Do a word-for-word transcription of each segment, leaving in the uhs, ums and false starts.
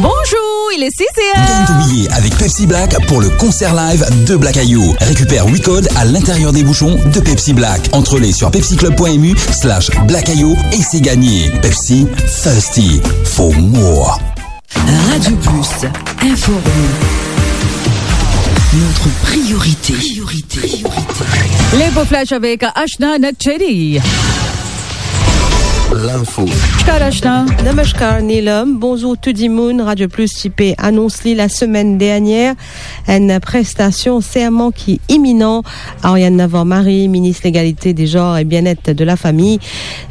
Bonjour, il est six heures. Gagne ton billet avec Pepsi Black pour le concert live de Black Ayou. Récupère huit codes à l'intérieur des bouchons de Pepsi Black. Entrée sur pepsi club point m u slash Black Ayou et c'est gagné. Pepsi, thirsty for more. Radio Plus, informé. Notre priorité. Priorité. L'info flash avec Ashna Natcheri. L'info. Namaskar Ashna. Namaskar Neelam. Bonzour tou dimounn. Radio Plus ti pe anons li lasemenn dernier enn prestasion serman ki iminan. Ariane Navarre-Marie, minis legalite, de zanr e bienet de lafami,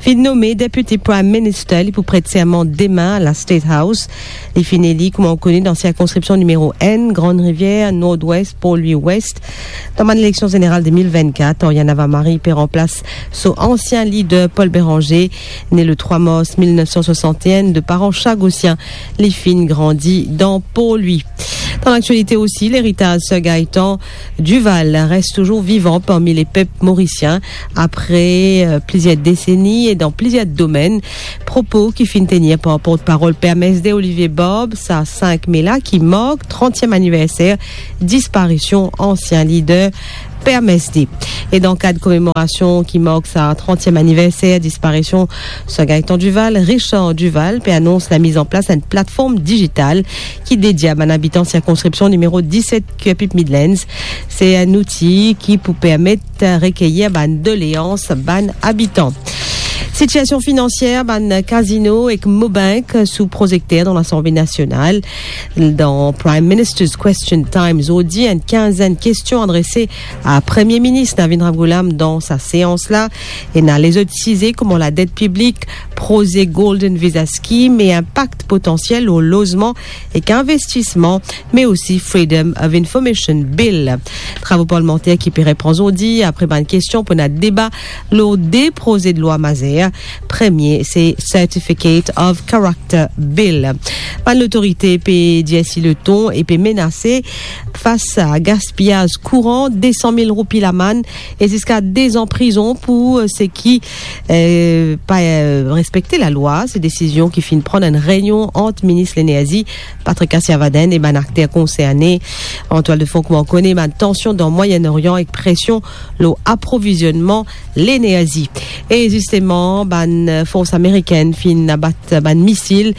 finn nome Deputy Prime Minister. Li pou pret serman demin la State House. Li finn eli kouma ou kone dan sirkonskripsion nimero enn, Grande Rivière, Nord-Ouest, Port-Louis Ouest. Dan bann eleksion zeneral de mil vennkat, Ariane Navarre-Marie pe ranplas so ansien lider Paul Bérenger, ne le trwa mars mil nef san swasantenn de paran Chagosien. Li finn grandi dan Port-Louis. Dan laktialite osi, leritaz Sir Gaëtan Duval res touzour vivan parmi lepep morisien apre, euh, plizier deseni e dan plizier domenn. Propo ki finn tenir par portparol P M S D Olivier Barbe sa sink me la, ki mark trantiem aniverser disparision ansien lider P M S D. E dan kad komemorasion ki mark sa trantiem aniverser disparision Sir Gaëtan Duval, Richard Duval pe anons lamiz an plas enn platform dizital ki dedie a bann abitan sirkonskripsion nimero diset Kirkby Midlands. Se enn outi ki pou permet rekeir bann doleans bann abitan. Sitiasion finansier bann kazino ek Mobank sou prozekter dan Lasanble Nasional. Dan Prime Minister's Question Time zordi, enn kinzenn kestion adrese a Premie Minis Navin Ramgoolam dan sa seans la. Ena lezot size kouma ladet piblik, proze Golden Visa Scheme e inpak potansiel lor lozman ek investisman, me osi Freedom of Information Bill. Travo parlimanter ki pe repran zordi apre bann kestion pou ena deba lor de prozedlwa mazer. Premie, se Certificate of Character Bill. Bann lotorite pe dir si leton e pe menase fas a gaspiyaz kouran, de san mil roupi lamann e ziska de zan prizon pou, euh, seki, euh, pa, euh, respekte lalwa. Se desizion ki finn pran dan enn reynion ant minis lenerzi Patrick Karsarian e bann akter konserne. An twal de fon, kouma ou kone, bann tansion dan Mwayen Orian ek presion lor aprovizionman lenerzi. E zisteman, bann, euh, fors amerikenn finn abat bann misil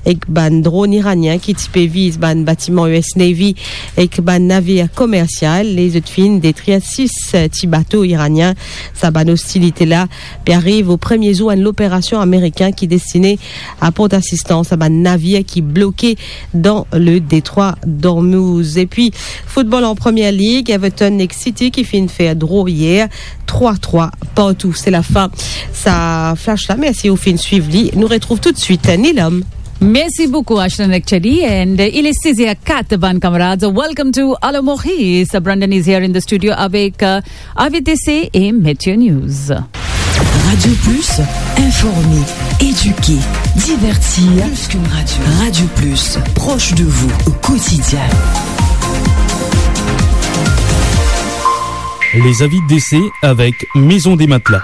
ek bann dronn iranien ki ti pe viz bann batiman U S Navy ek bann navir komersial. Lezot finn detrir sis, euh, ti bato iranien. Sa bann ostilite la pe ariv o premie zour enn loperasion amerikenn ki destine aport asistans a bann navir ki bloke dan le detrwa d'Ormuz. Epi, foutbol an Premie Lig, Everton ek City ki finn fer dro yer, trwa trwa partou. Se lafin sa flash la. Mersi ou finn swiv li. Nou retrouv toutswit Neelam. Merci beaucoup, Ashna Natcheri. And, uh, il est six heures quatre, bann kamarad. Welcome to Alo Maurice. Brandon is here in the studio avec, uh, Avidese et Meteo News. Radio Plus, informer, éduquer, divertir. Plus qu'une radio. Radio Plus, proche de vous au quotidien. Les avis d'essai avec Maison des Matelas.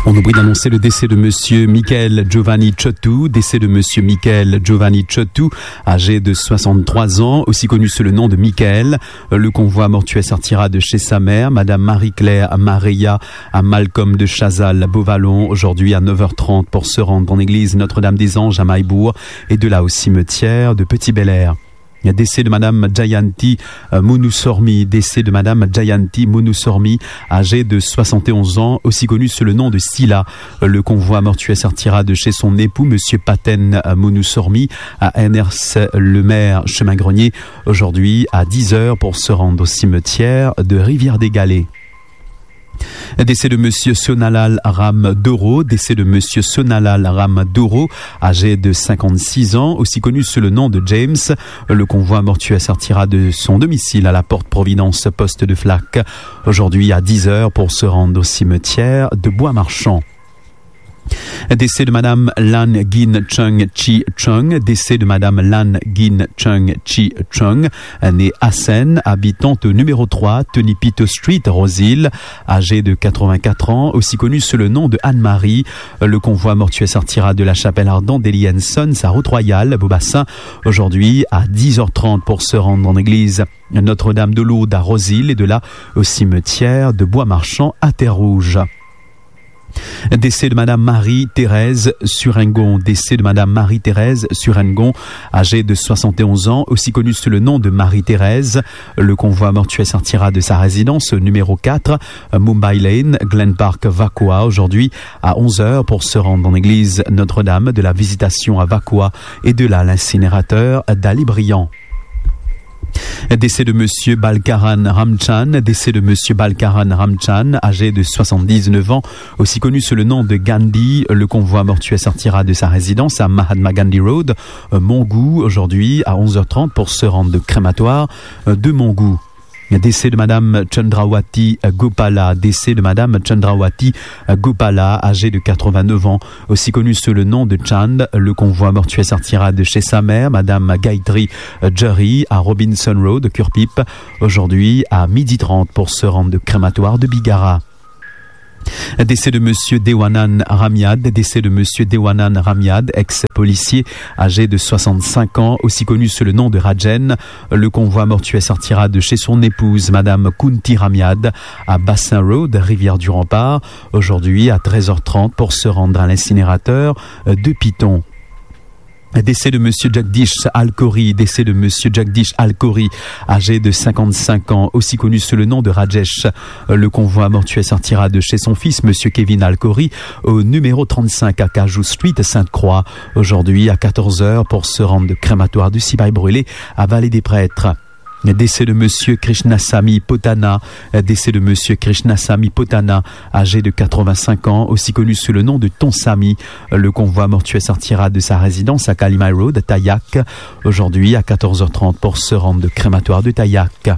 On oublie d'annoncer le décès de monsieur Michael Giovanni Ciottu, décès de monsieur Michael Giovanni Ciottu, âgé de soixante-trois ans, aussi connu sous le nom de Michael. Le convoi mortuaire sortira de chez sa mère, madame Marie-Claire Maria, à Malcolm de Chazal, Beau-Vallon, aujourd'hui à neuf heures trente pour se rendre en église Notre-Dame des Anges à Maillebourg et de là au cimetière de Petit-Bel-Air. Décès de madame Jayanti, euh, Munusormi. Décès de madame Jayanti Munusormi, âgée de soixante et onze ans, aussi connue sous le nom de Sila. Le convoi mortuaire sortira de chez son époux, monsieur Paten, euh, Munusormi, à N R C Le Maire, chemin Grenier, aujourd'hui à dix heures pour se rendre au cimetière de Rivière-des-Galets. Décès de monsieur Sonalal Ram Doro, décès de monsieur Sonalal Ram Doro, âgé de cinquante-six ans, aussi connu sous le nom de James. Le convoi mortuaire sortira de son domicile à la Porte Providence, poste de Flac, aujourd'hui à dix heures pour se rendre au cimetière de Bois-Marchand. Décès de Madame Lan Gin Chung Chi Chung. Décès de Madame Lan Gin Chung Chi Chung, née Assen, habitante au numéro trois, Tony Pito Street, Rose Hill, âgée de quatre-vingt-quatre ans, aussi connue sous le nom de Anne-Marie. Le convoi mortuaire sortira de la chapelle ardente d'Elienson, sa Route Royale, Beau-Bassin, aujourd'hui à dix heures trente pour se rendre en église Notre-Dame de Lourdes à Rose Hill et de là au cimetière de Bois-Marchand à Terre-Rouge. Décès de Madame Marie-Thérèse Surengon. Décès de Madame Marie-Thérèse Surengon, âgée de soixante et onze ans, aussi connue sous le nom de Marie-Thérèse. Le convoi mortuaire sortira de sa résidence au numéro quatre, Mumbai Lane, Glen Park, Vacoas, aujourd'hui à onze heures pour se rendre en église Notre-Dame de la Visitation à Vacoas et de là l'incinérateur Dali Briand. Décès de monsieur Balkaran Ramchan, décès de monsieur Balkaran Ramchan, âgé de soixante-dix-neuf ans, aussi connu sous le nom de Gandhi. Le convoi mortuaire sortira de sa résidence à Mahatma Gandhi Road, euh, Montgou, aujourd'hui à onze heures trente pour se rendre au crématoire, euh, de Montgou. Décès de Madame Chandrawati Gopala, décès de Madame Chandrawati Gopala, âgée de quatre-vingt-neuf ans, aussi connue sous le nom de Chand. Le convoi mortuaire sortira de chez sa mère, Madame Gayatri Jari, à Robinson Road, Curpip, aujourd'hui à midi trente pour se rendre au crématoire de Bigara. Décès de monsieur Dewanan Ramiad, décès de monsieur Dewanan Ramiad, ex-policier âgé de soixante-cinq ans, aussi connu sous le nom de Rajen. Le convoi mortuaire sortira de chez son épouse, Madame Kunti Ramiad, à Bassin Road, Rivière du Rempart, aujourd'hui à treize heures trente pour se rendre à l'incinérateur de Piton. Décès de monsieur Jagdish Alkori, décès de monsieur Jagdish Alkori, âgé de cinquante-cinq ans, aussi connu sous le nom de Rajesh. Le convoi mortuaire sortira de chez son fils, monsieur Kevin Alkori, au numéro trente-cinq à Cajou Street, Sainte-Croix, aujourd'hui à quatorze heures pour se rendre au crématoire du Sipaï Brûlé à Vallée des Prêtres. Décès de monsieur Krishnasamy Potana, décès de monsieur Krishnasamy Potana, âgé de quatre-vingt-cinq ans, aussi connu sous le nom de Ton Samy. Le convoi mortuaire sortira de sa résidence à Kalimai Road, à Tayak, aujourd'hui à quatorze heures trente pour se rendre au crématoire de Tayak.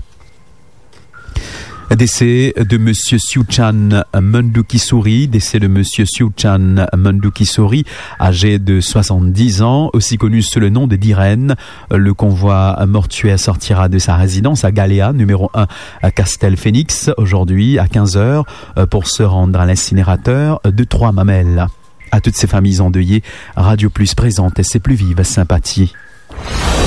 Décès de monsieur Siouchan Mandukisuri, décès de monsieur Siouchan Mandukisuri, âgé de soixante-dix ans, aussi connu sous le nom de Diren. Le convoi mortuaire sortira de sa résidence à Galéa, numéro un à Castel Phoenix, aujourd'hui à quinze heures, euh, pour se rendre à l'incinérateur de Trois-Mamelles. À toutes ces familles endeuillées, Radio Plus présente ses plus vives sympathies.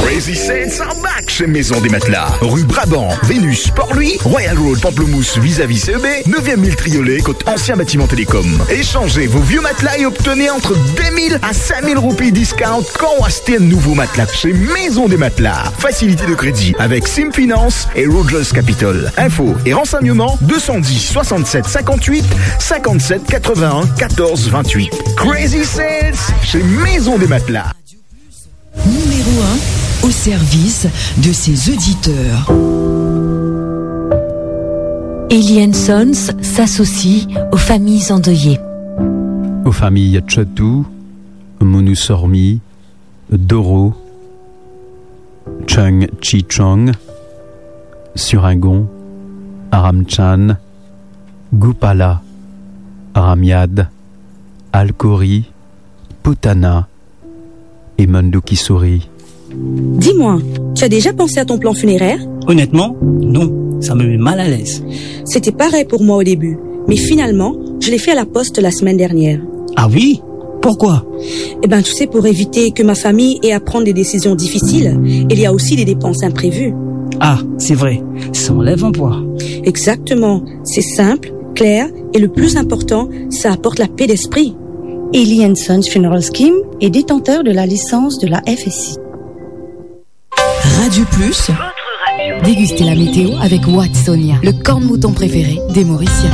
Crazy Sales are back chez Maison des Matelas, rue Brabant, Vénus, Port-Louis, Royal Road, Pamplemousse, vis-à-vis C E B, neuvième mille Triolet, kot ansien batiman Télécom. Échangez vos vieux matelas et obtenez entre deux mille à cinq mille roupies discount quand vous achetez un nouveau matelas chez Maison des Matelas. Facilité de crédit avec Sim Finance et Rogers Capital. Infos et renseignements, deux cent dix, soixante-sept, cinquante-huit, cinquante-sept, quatre-vingt-un, quatorze, vingt-huit. Crazy Sales chez Maison des Matelas. Numéro un au service de ses auditeurs. Ellie and Sons s'associe aux familles endeuillées. Aux familles Chotou, Monusormi, Doro, Chung Chi Chung, Suringon, Aramchan, Gupala, Ramiad, Alkori, Putana, et Mandu Kisuri. Dis-moi, tu as déjà pensé à ton plan funéraire ? Honnêtement, non. Ça me met mal à l'aise. C'était pareil pour moi au début, mais finalement, je l'ai fait à la poste la semaine dernière. Ah oui ? Pourquoi ? Eh ben, tu sais, pour éviter que ma famille ait à prendre des décisions difficiles, il y a aussi des dépenses imprévues. Ah, c'est vrai. Ça enlève un poids. Exactement. C'est simple, clair, et le plus important, ça apporte la paix d'esprit. Ellie and Sons Funeral Scheme est détenteur de la licence de la F S I. Radio Plus, dégustez la météo avec Watsonia, le corps de mouton préféré des Mauriciens.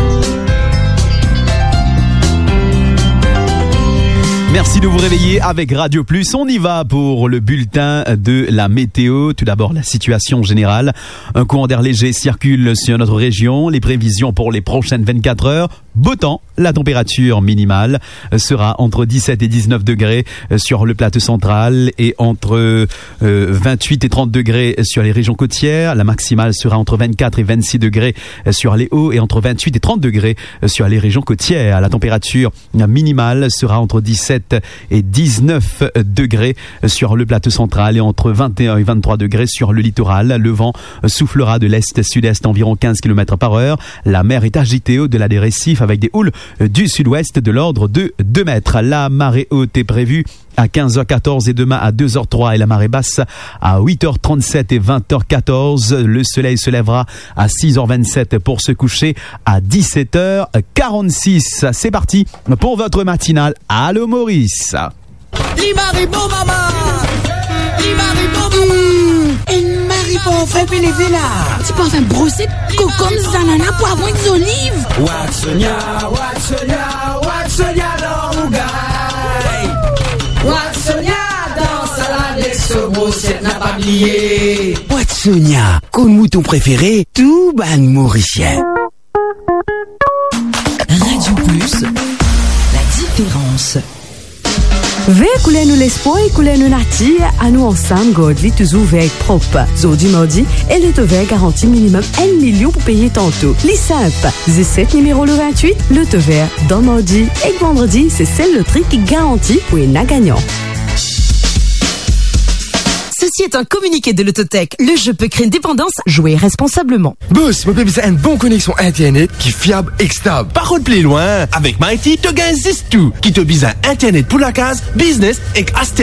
Merci de vous réveiller avec Radio Plus. On y va pour le bulletin de la météo. Tout d'abord, la situation générale. Un courant d'air léger circule sur notre région. Les prévisions pour les prochaines vingt-quatre heures. Beau temps, la température minimale sera entre dix-sept et dix-neuf degrés sur le plateau central et entre, euh, vingt-huit et trente degrés sur les régions côtières. La maximale sera entre vingt-quatre et vingt-six degrés sur les hauts et entre vingt-huit et trente degrés sur les régions côtières. La température minimale sera entre dix-sept et dix-neuf degrés sur le plateau central et entre vingt et un et vingt-trois degrés sur le littoral. Le vent soufflera de l'est-sud-est environ quinze kilomètres par heure. La mer est agitée au-delà des récifs avec des houles du sud-ouest de l'ordre de deux mètres. La marée haute est prévue à quinze heures quatorze et demain à deux heures trois et la marée basse à huit heures trente-sept et vingt heures quatorze. Le soleil se lèvera à six heures vingt-sept pour se coucher à dix-sept heures quarante-six. C'est parti pour votre matinale. Allô Maurice. Li mari bon mama. Li mari bon mama. Hmm, enn mari parfin pe leve la. Ti parfin brose, kokom, zanana, pwavron ek zoliv. Watsonia, Watsonia, Watsonia dan rougay. Watsonia dan salad ek so brosiet, napa bliye. Watsonia, kot mouton prefere tou bann Morisien. Radio Plus, la différence. Ver kouler nou lespwar e kouler nou natir, anou ansam gard li touzour ver ek prop. Zordi mardi, e Loto Ver garanti minimem enn milion pou peye tanto. Li sinp, zis set nimero lor vintwit, Loto Ver dan mardi ek vandredi, se sel lotri ki garanti pou ena gagnan. Ceci est un communiqué de Lottotech. Le jeu peut créer une dépendance. Jouez responsablement. Bos, mo pe bizin enn bon koneksion internet ki fiab ek stab. Pa rod pli lwin, avek Mighty, to gagn zis tou. Ki to bizin internet pou lakaz, biznes ek aster